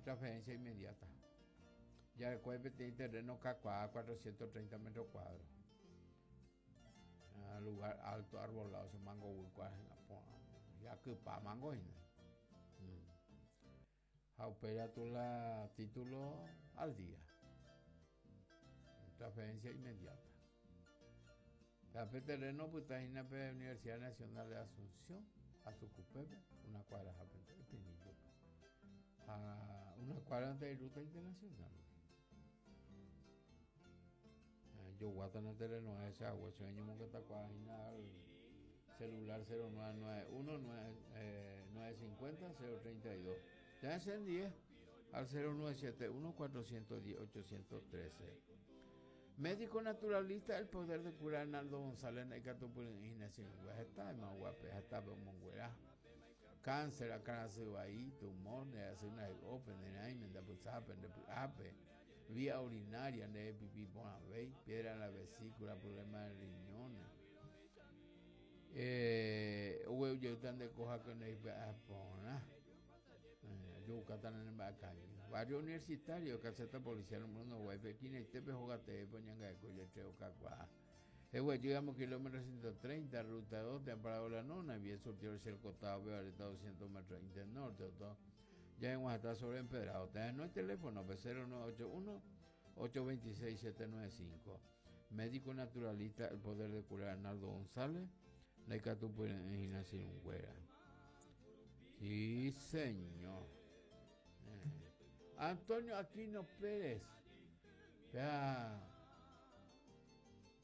Transferencia inmediata. Jarekói peteĩ terreno kakuaa 430 metros cuadros. Ah, lugar alto, arbolado, se mango guykua porã. Jakypa mango hína. Ha upéi katu la título al día. Transferencia inmediata. Ha pe terreno opyta hína pe Universidad Nacional de Asunción, Atukupépe, una cuadra hápente, Espinillope. Ha una cuadra ante ruta internacional. Joguátana terreno ese agua, che ñomongetakuaa hína al celular 0991 950 032. Ya encendí al 0971 410 813. Médico naturalista, el poder de curar Arnaldo González ndaikatupyry'ỹi hína heta ymaguape hetápe omonguera. Cáncer, akãrasy vai, tumor, nde rasy ndahay'ópe, nde rãime, nde apysápe, nde py'ápe, vía urinaria, nde pipi porãvéi, piedra en la vesícula, problema de riñones. Eh, ogueru jeýta nde koha nde ipy'a porã. Ajovukáta ne mba'ekañy. Barrio Universitario, caseta policial número Uruguáipe, esquinaitépe hóga teépe oñangareko iletrero kakuaa. Eguejýramo kilómetro 130, ruta 2, térã Parado La Nona, bien surtido el costado, Bevareta 200 metros Inter Norte, otro. Ya en sobre empedrado. Te no hay teléfono, 0981 826 795. Médico naturalista, el poder de curar Arnaldo González, la Icatupyre'ỹ Sí, señor. Antonio Aquino Pérez, ya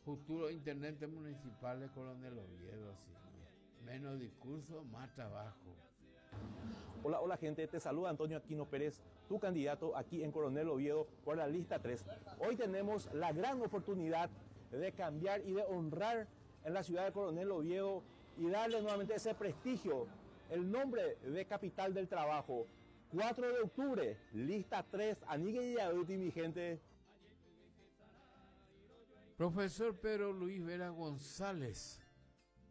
futuro intendente municipal de Coronel Oviedo, así, ¿no? Menos discurso, más trabajo. Hola, hola gente, te saluda Antonio Aquino Pérez, tu candidato aquí en Coronel Oviedo por la lista 3. Hoy tenemos la gran oportunidad de cambiar y de honrar en la ciudad de Coronel Oviedo y darle nuevamente ese prestigio, el nombre de capital del trabajo. 4 de octubre, lista 3, Anigue y mi gente. Profesor Pedro Luis Vera González,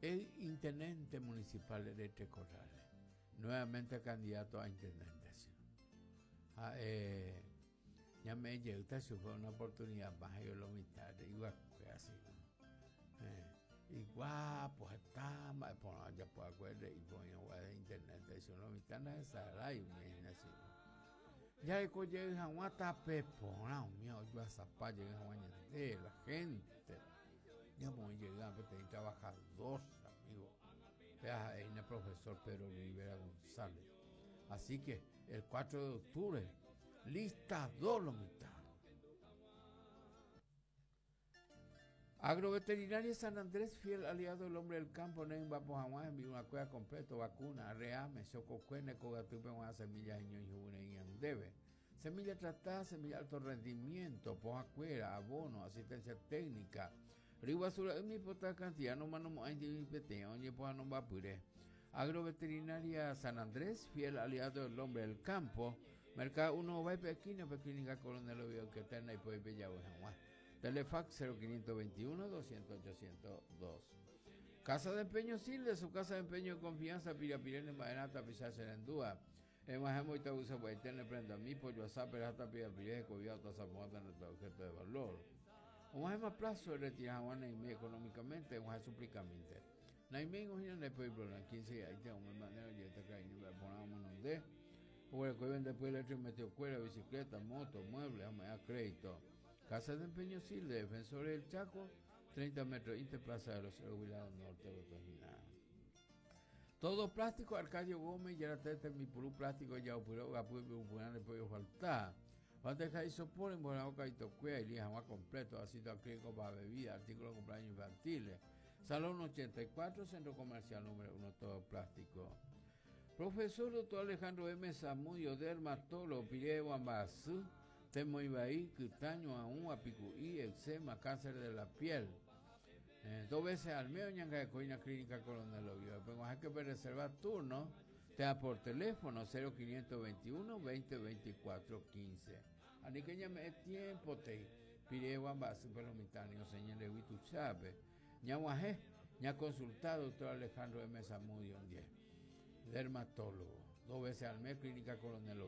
el intendente municipal de Tres Corrales, nuevamente candidato a intendente. Ah, ya me llegó, si fue una oportunidad más, yo lo mitad, igual fue así. Y guapo, está, pues ya puedo acuerdo, y ponía de internet, eso lo mitad no es y así. Ya de hag̃ua tape porã umi ojuasapa jey hag̃ua ñande la gente. Ñamoĩ jey peteĩ trabajador, amigo. Péa ha'e hína profesor Pedro Luis Vera González. Así que el 4 de octubre, lista 2 lo mitad. Agroveterinaria San Andrés, fiel aliado del hombre del campo, ne hag̃ua hembi'u kuéra completo, vacuna, reame, chokokue, nekogatýpe g̃uarã semilla heñói hu'úre ñandéve. Semilla tratada, semilla alto rendimiento, pohakuéra, abono, asistencia técnica. Ryguasura'y pota cantidad no manomo'ãi peteĩ oñepohãnombapyre. Agroveterinaria San Andrés, fiel aliado del hombre del campo, Mercado 1 Ováipe esquina, pe Clínica Coronel Oviedo que está en la hag̃ua. Telefax 0521 200 802. Casa de Empeño Silde, su casa de empeño de confianza, Pirapirene, Maerata, Tapiza Serendúa. Emajemo y Tabusa Guaitene, prenda mi pollo asá, perata, pirapiré, cobiata, zamuata, nuestro objeto de valor. O más plazo de retirar a Naime económicamente, o suplicamente. Naime, imagina, después problema, 15 ahí tengo un manera, yo te caí, me ponemos de. O el que vende después el metió cuera, bicicleta, moto, muebles, a crédito. Casa de Empeño Silde, Defensores del Chaco, 30 metros, Interplaza de los Huilado Norte, Botosina. Todo plástico, Arcadio Gómez, ya la mi purú plástico, ya opuró, gapu, le puede faltar. Bandeja y sopor, en buena boca y tocuea, y lija más completo, ácido acrílico para bebida, artículos de cumpleaños infantiles. Salón 84, Centro Comercial número 1, todo plástico. Profesor doctor Alejandro M. Zamudio, dermatólogo, Pireo Ambasú, Temoibaí, Quitaño, Aún, Apicuí, eczema, cáncer de la piel. Dos veces al mes, Ñangacoina Clínica Coronel Oviedo. Pero hay que reservar turno, te da por teléfono 0521 20 24 15. Ani que llame tiempo te pide Ambasú, pero mitanio, señor Huitu Chávez. Ñaguajé, ña consultado doctor Alejandro M. Zamudio, 10. Dermatólogo. Dos veces al mes, Clínica Coronel Oviedo.